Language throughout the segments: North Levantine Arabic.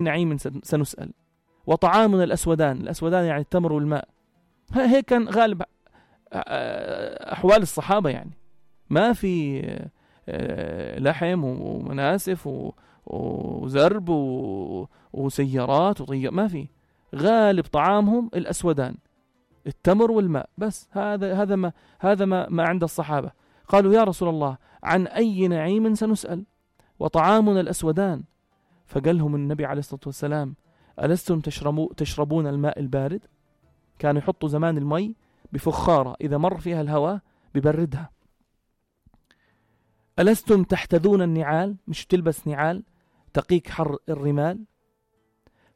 نعيم سنسأل وطعامنا الأسودان. الأسودان يعني التمر والماء. هيك كان غالب أحوال الصحابة، يعني ما في لحم ومناسف وزرب وسيارات وطيار، ما في. غالب طعامهم الأسودان، التمر والماء بس. هذا ما عند الصحابة. قالوا يا رسول الله عن أي نعيم سنسأل وطعامنا الأسودان؟ فقال لهم النبي عليه الصلاة والسلام ألستم تشربون الماء البارد؟ كانوا يحطوا زمان المي بفخارة إذا مر فيها الهواء ببردها. ألستم تحتذون النعال؟ مش تلبس نعال تقيك حر الرمال؟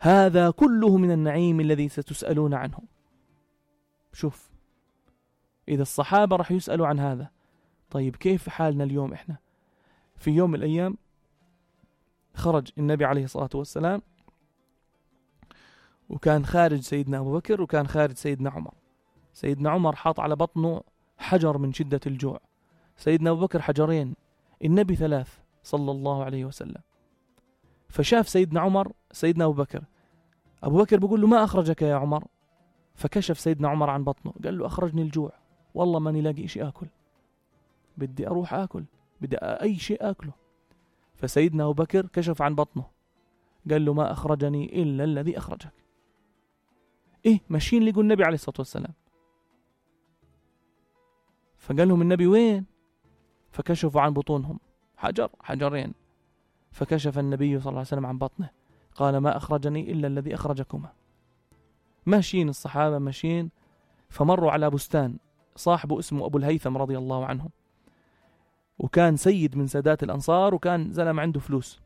هذا كله من النعيم الذي ستسألون عنه. شوف، إذا الصحابة رح يسألوا عن هذا، طيب كيف حالنا اليوم إحنا؟ في يوم من الأيام خرج النبي عليه الصلاة والسلام، وكان خارج سيدنا أبو بكر وكان خارج سيدنا عمر. سيدنا عمر حاط على بطنه حجر من شدة الجوع، سيدنا أبو بكر حجرين، النبي 3 صلى الله عليه وسلم. فشاف سيدنا عمر سيدنا أبو بكر، أبو بكر بيقول له ما أخرجك يا عمر؟ فكشف سيدنا عمر عن بطنه قال له أخرجني الجوع، والله ماني لاقي شيء أكل، بدي أروح أكل، بدي أي شيء أكله. فسيدنا أبو بكر كشف عن بطنه قال له ما أخرجني إلا الذي أخرجك. إيه ماشيين لقوا النبي عليه الصلاة والسلام، فقال لهم النبي وين؟ فكشفوا عن بطونهم حجرين. فكشف النبي صلى الله عليه وسلم عن بطنه قال ما أخرجني إلا الذي أخرجكما. ماشيين الصحابة ماشيين، فمروا على بستان صاحبه اسمه أبو الهيثم رضي الله عنه، وكان سيد من سادات الأنصار، وكان زلم عنده فلوس.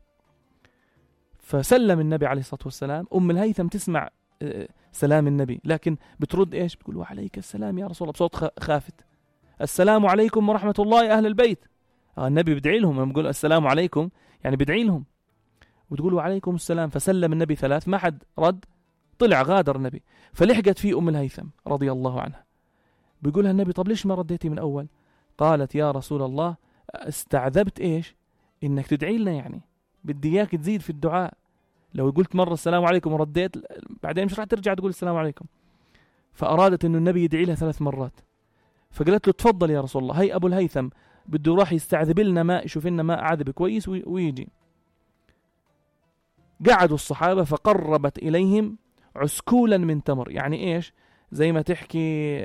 فسلم النبي عليه الصلاة والسلام. أم الهيثم تسمع سلام النبي، لكن بترد إيش؟ بتقول وعليك السلام يا رسول الله بصوت خافت. السلام عليكم ورحمة الله يا أهل البيت. النبي بدعي لهم، لما بيقول السلام عليكم يعني بدعي لهم، وتقول وعليكم السلام. فسلم النبي 3، ما حد رد، طلع غادر النبي. فلحقت فيه أم الهيثم رضي الله عنها، بيقولها النبي طب ليش ما رديتي من أول؟ قالت يا رسول الله استعذبت إيش؟ إنك تدعي لنا، يعني بدي إياك تزيد في الدعاء. لو قلت مرة السلام عليكم ورديت بعدين مش راح ترجع تقول السلام عليكم. فأرادت إنه النبي يدعي لها 3 مرات. فقالت له تفضل يا رسول الله، هي أبو الهيثم بده راح يستعذب لنا ماء، يشوف لنا ماء عذب كويس ويجي. قعدوا الصحابة فقربت إليهم عسكولا من تمر، يعني إيش؟ زي ما تحكي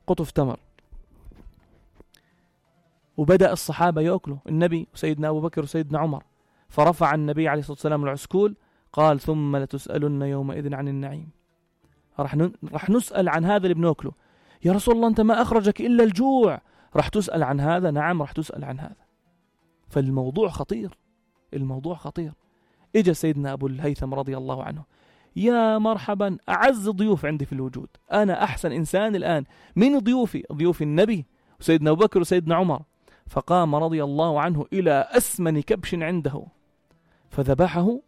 قطف تمر. وبدأ الصحابة يأكلوا، النبي وسيدنا أبو بكر وسيدنا عمر. فرفع النبي عليه الصلاة والسلام العسكول قال ثم لتسألن يومئذ عن النعيم. رح نسأل عن هذا اللي بناكله. يا رسول الله أنت ما أخرجك إلا الجوع، رح تسأل عن هذا؟ نعم رح تسأل عن هذا. فالموضوع خطير، الموضوع خطير. إجا سيدنا أبو الهيثم رضي الله عنه، يا مرحبا أعز ضيوف عندي في الوجود، أنا أحسن إنسان الآن. من ضيوفي؟ ضيوف النبي وسيدنا أبو بكر وسيدنا عمر. فقام رضي الله عنه إلى أسمن كبش عنده فذبحه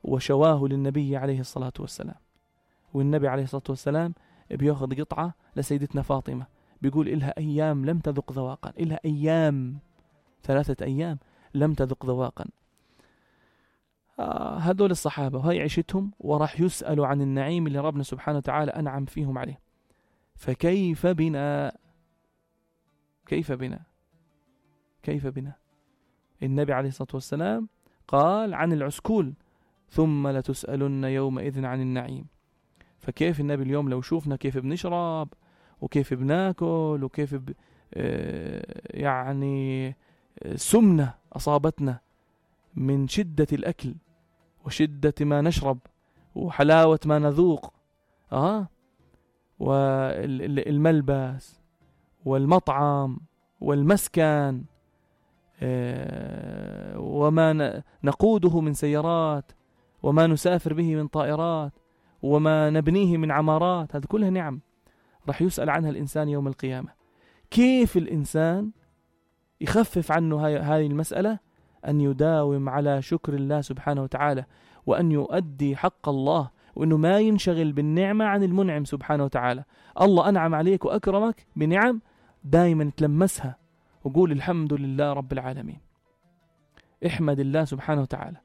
وشواه للنبي عليه الصلاة والسلام. والنبي عليه الصلاة والسلام بيأخذ قطعة لسيدتنا فاطمة، بيقول إلها أيام لم تذق ذواقا، إلها أيام 3 أيام لم تذق ذواقا. هذول الصحابة وهي عيشتهم، وراح يسألوا عن النعيم اللي ربنا سبحانه وتعالى أنعم فيهم عليه. فكيف بنا؟ كيف بنا؟ كيف بنا؟ النبي عليه الصلاة والسلام قال عن العسكول ثم لتسألن يومئذ عن النعيم. فكيف النبي اليوم لو شوفنا كيف بنشرب وكيف بناكل وكيف يعني سمنة أصابتنا من شدة الأكل وشدة ما نشرب وحلاوة ما نذوق، والملبس والمطعم والمسكن، وما نقوده من سيارات، وما نسافر به من طائرات، وما نبنيه من عمارات، هذه كلها نعم رح يسأل عنها الإنسان يوم القيامة. كيف الإنسان يخفف عنه هذه المسألة؟ أن يداوم على شكر الله سبحانه وتعالى، وأن يؤدي حق الله، وأنه ما ينشغل بالنعمة عن المنعم سبحانه وتعالى. الله أنعم عليك وأكرمك بنعم، دائما تلمسها وقول الحمد لله رب العالمين، احمد الله سبحانه وتعالى.